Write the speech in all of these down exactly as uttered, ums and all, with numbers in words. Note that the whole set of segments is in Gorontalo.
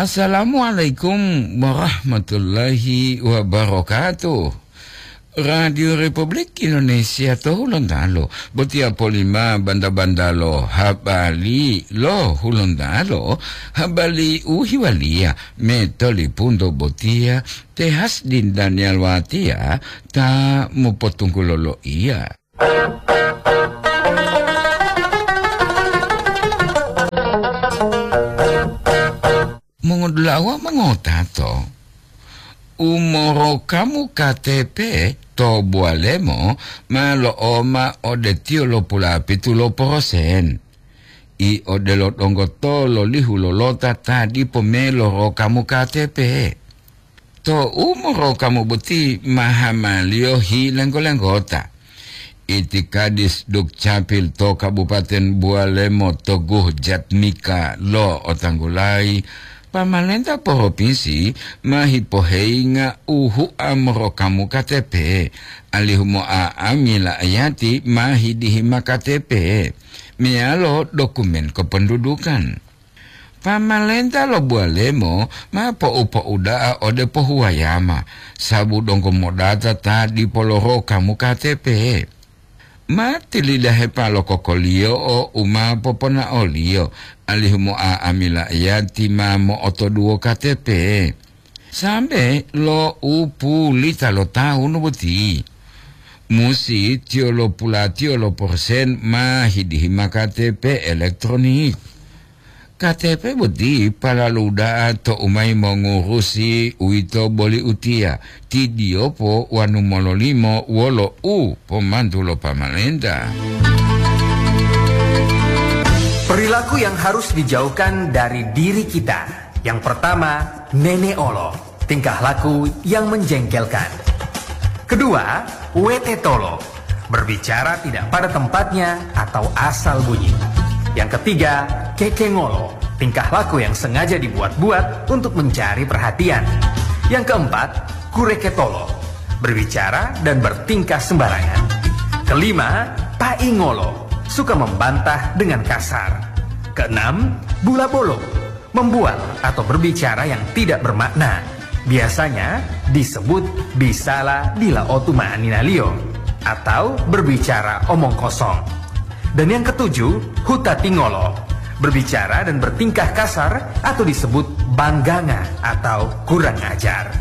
Assalamualaikum warahmatullahi wabarakatuh. Radio Republik Indonesia to Hulontalo, botiya polima banda-banda lo habari lo Hulontalo, habari u hiwaliya metolipunto botiya te Hasdin Daniel Watia ta mopotunggulo loiya. Mongodula'a wawu mongotato, umorokamu K T P to Bualemo ma lo'oma ode tiyo lo pulapitu lo porosen. I odelo donggo to lolihu lolota ta dipo me lorokamu K T P. To umorokamu boti ma hamaliyo hilenggo-lenggota. Itikadis Dukcapil to Kabupaten Bualemo Toguh Jatmika lo otanggulayi, pamalenta poropinsi ma hipoheyinga uhu'a morokamu K T P, alihu mo'a'ami la'ayati ma hidihima K T P, meyalo dokumen kependudukan. Pamalenta lo Bualemo ma po'u-po'uda'a ode pohuwayama, sabu donggo modata ta dipo lorokamu K T P. Ma tilidahepa lo kokoliyo'o u ma poponaoliyo, alihu mo'a'ami la'ayati ma mo'otoduwo K T P. Sambe lo u pulita lo tawu boti, musi tiyo lo pulatiyo lo porosen ma hidihima K T P elektronik. K T P boti palalu da'a to u mayi mongurusi uwito boli utiya, ti diyopo wanu mololimo wolo u pomantu lo pamalenta. Perilaku yang harus dijauhkan dari diri kita. Yang pertama, nene'olo, tingkah laku yang menjengkelkan. Kedua, wetetolo, berbicara tidak pada tempatnya atau asal bunyi. Yang ketiga, kekengolo, tingkah laku yang sengaja dibuat-buat untuk mencari perhatian. Yang keempat, kureketolo, berbicara dan bertingkah sembarangan. Kelima, paingolo, suka membantah dengan kasar. Keenam, bulabolo, membual atau berbicara yang tidak bermakna. Biasanya disebut bisala dila otu ma'aninaliyo atau berbicara omong kosong. Dan yang ketujuh, hutatingolo, berbicara dan bertingkah kasar atau disebut bangganga atau kurang ajar.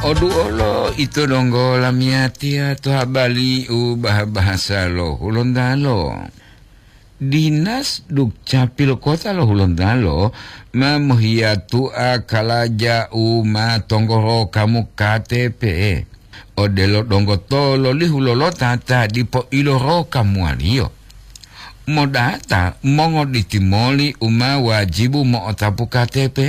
Odu olo ito donggo lamiyatiya to habali u baha-bahasa lo Hulontalo. Dinas Dukcapil Kota lo Hulontalo ma mohiyatu'a kalaja u ma tonggoro kamu K T P, odelo donggo to lolihu lolota ta dipo iloro kamuwaliyo. Modata mongoditi moli u ma wajibu mo'otapu K T P.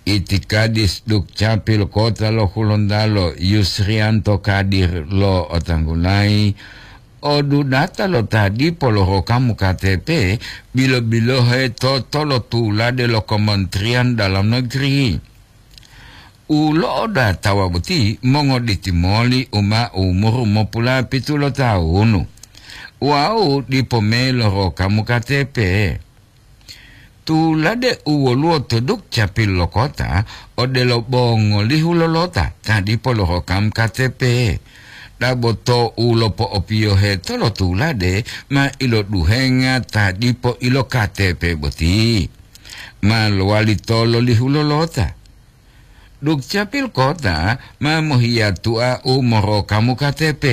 Itikadis Dukcapil Kota lo Hulontalo Yusrianto Kadir lo otanggulayi, odudata lo ta dipo lorokamu K T P, bilo-bilohe to tolotulade lo Kementerian Dalam Negeri. U lo'odatawa boti mongoditi moli u ma umuru mopulapitu lo tawunu, wawu dipo me lorokamu K T P. Tulade u woluwo to Dukcapil lo kota, odelo bongolihu lolota ta dipo lorokamu K T P. Dabo to u lopo'opiyohe tolotulade ma iloduhenga ta dipo ilo K T P boti, ma lowali to lolihu lolota. Dukcapil Kota ma mohiyatu'a u morokamu K T P.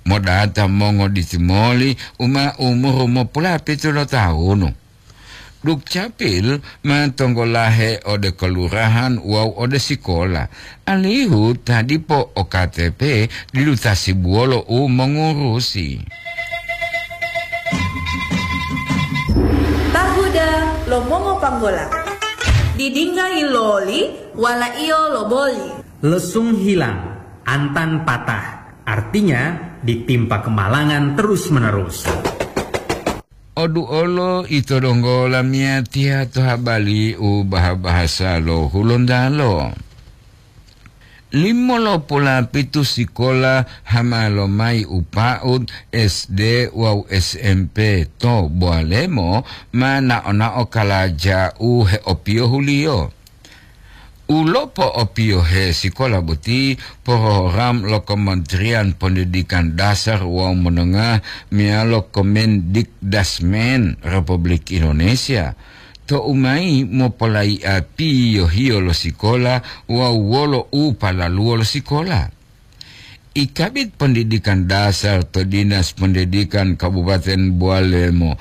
Modata mongoditi moli u ma umuru mopulapitu lo tawunu. Dukcapil ma tonggolahe ode kelurahan wawu ode sikola, alihu ta dipo o K T P didu tasibuwolo u mongurusi. Tahuda lo mongopanggola. Didingga yiloli, walaiyo loboli. Lesung hilang, antan patah. Artinya, ditimpa kemalangan terus-menerus. Odu olo ito donggo lamiyatiya to habali u baha-bahasa lo Hulontalo. Limo lo pulapitu sikola hama lomayi u pa'ud S D wawu S M P to Boalemo ma nao-nao kalaja u heopiyohuliyo. U lopo'opiyohe sikola boti program lo Kementerian Pendidikan Dasar wawu Menengah meyalo Kemendikdasmen Republik Indonesia. Tou mayi mopolayi'a piyohiyo lo sikola wawu wolo u palaluwo lo sikola. I Kabid Pendidikan Dasar to Dinas Pendidikan Kabupaten Boalemo